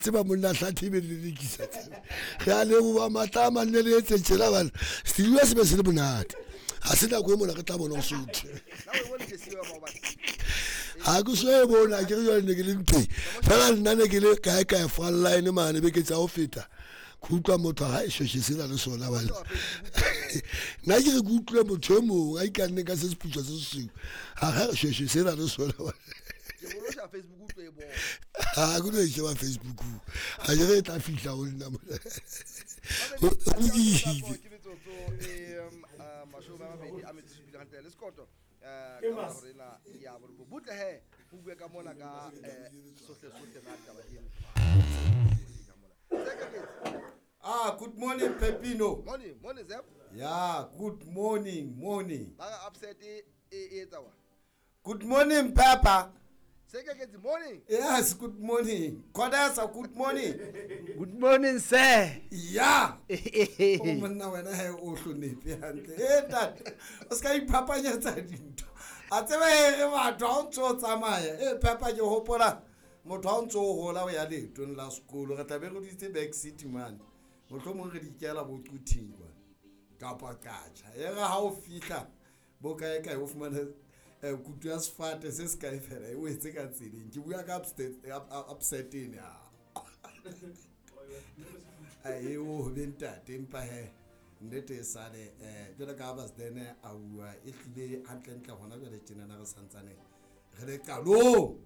Tseba monna hlathe be le lekisa re a leboa matla a manne le etse tjena bana setulo se be se le monate ga se nako e mona re tla bona go sotho ga ke so e bona ke re jale ne ke le ntweng fela nna ne ke le kae kae falline mane beke tsa go feta ke utlwa motho ga e shoshe sena le sona bana nna ke re ke utlwile motho e mongwe a ikanne ka se seputswa se sesweu ga ga re shoshe sena le sona bana ga ke no e sheba Facebook ga ke re e tla fihla go nna mona lokile. Ke metsotso e 28 gantle le sekoto ka hora ena ya borobong. Butle he ho bue ka mona ka sohle sohle na taba eno ka mona. Ah, good morning, Pepino. Morning, morning, Zeb. Yeah, good morning, morning. Ba re upset e e etsa wa. Good morning, Papa. Sekeketsi, morning. Yes, good morning. Kodasa, good morning. Good morning, sir. Yeah. O monna wena he o hlonephe hantle. E ntate, o ska iphapanyetsa dintho. A tseba he re batho ha o ntso o tsamaya. E Papa ke hopola motho ha o ntso o hola o ya leetong la sekolo re tla be re dutse back city mane. Mohlomong re di kela bo Quthing kwa kapa Qacha. E re ha o fihla bo kae kae o fumane kutu ya sefate se se kae fela e wetse ka tseleng. Ke bua ka upset ene a. E o be ntate empa he nnete e sale jwalo ka ha Basdene a bua e hlile hantlentle hona jwale tjenana re santsane re le qalong.